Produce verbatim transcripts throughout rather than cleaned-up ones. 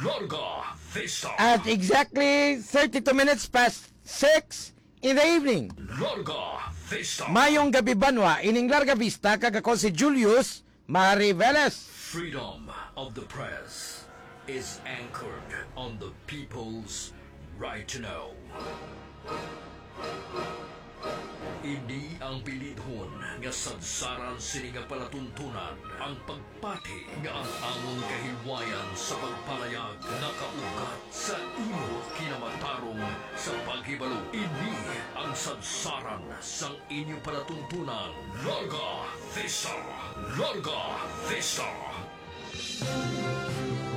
Larga Vista. At exactly thirty-two minutes past six in the evening. Larga Vista. Mayong gabi, banwa. Ining Larga Vista, kag ako si Julius Mari Velez. Freedom of the press is anchored on the people's right to know. Ini ang bilidhon nga sadsaran sini nga palatuntunan, ang pagpati nga ang amon kahilwayan sa pagpalayag nakaugat sa imo kinamatarong sa paghibalo. Ini ang sadsaran sang inyo palatuntunan. Larga Vista! Larga Vista!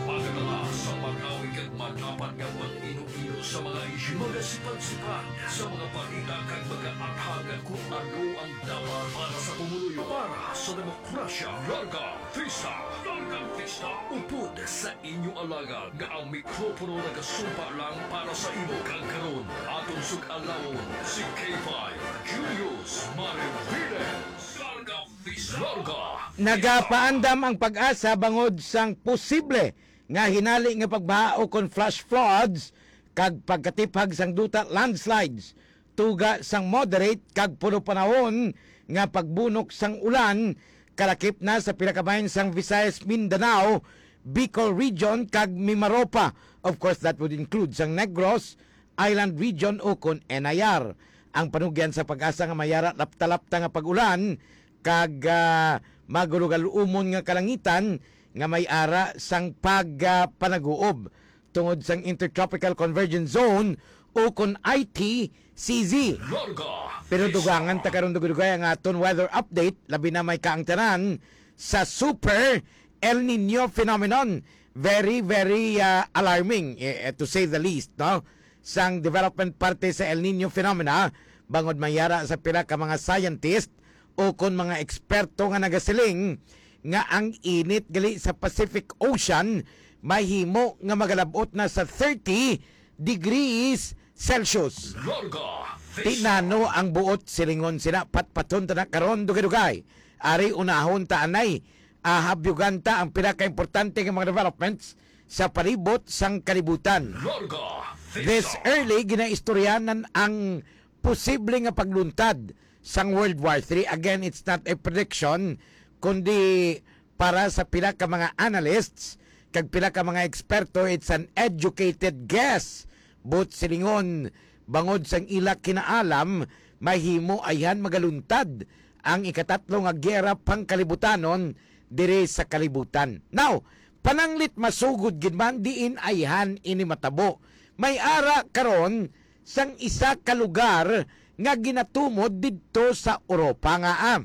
Pagdala sa marawi kag madapat nga pag-ino-ino sa mga isyu, magasipad-sipad sa mga balita kag magaathag kung ano ang dapat para sa pumuluyo, para sa demokrasya. Larga Vista! Larga Vista! Upod sa inyo alagad nga ang mikropono nagasumpa lang para sa imo, kag karon aton sug-alawon si K five Julius Mariviles. Larga Vista! Larga Vista! Nagapaandam ang PAGASA bangod sang posible nga hinali nga pagbaha ukon flash floods kag pagkatiphag sang duta, landslides, tuga sang moderate kag puno panahon nga pagbunok sang ulan, kalakip na sa pila ka bahin sang Visayas, Mindanao, Bicol Region, kag Mimaropa. Of course, that would include sang Negros Island Region ukon N I R. Ang panugyan sa PAGASA nga may ara lapta-lapta nga pag-ulan kag, ah, magulugaluomon nga kalangitan nga may ara sang pag, ah, panaguob tungod sang Intertropical Convergence Zone ukon I T C Z. Larga Pero Vista. Dugangan ta karon, dugay-dugay, ang aton weather update, labi na may kaangtanan sa Super El Nino phenomenon. Very, very, ah, alarming, eh, eh, to say the least, no? Sang development parte sa El Nino phenomena, bangod may ara sa pila ka mga scientist ukon mga eksperto nga nagasiling nga ang init gali sa Pacific Ocean mahimo nga magalab-ot na sa thirty degrees Celsius. Larga Vista. Ti nano ang buot silingon sina? Patpaton ta na karon, dugay-dugay. Ari, unahon ta anay, ah, habyugan ta ang pila ka importante nga mga developments sa palibot sang kalibutan. Larga Vista. This early, ginaistoryanan ang posible nga pagluntad sang World War Three. Again, it's not a prediction, kundi para sa pila ka mga analysts kag pila ka mga eksperto, it's an educated guess. But silingon, bangod sang ila kinaalam, mahimo ayhan magaluntad ang ikatatlo nga giyera pangkalibutanon diri sa kalibutan. Now, pananglit, masugod gid man diin ayhan ini matabo. May ara karon sang isa ka lugar nga ginatumod didto sa Europa nga, ah,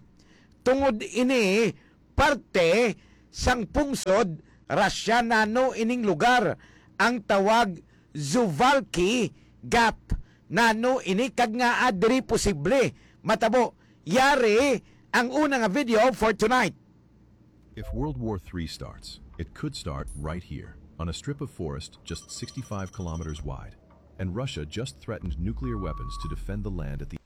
tungod ini parte sang pungsod Russia. Nano ining lugar ang tawag Suwalki Gap? Nano ini kag ngaa diri posible matabo? Yari ang una nga video for tonight. If World War Three starts, it could start right here, on a strip of forest just sixty-five kilometers wide. And Russia just threatened nuclear weapons to defend the land at the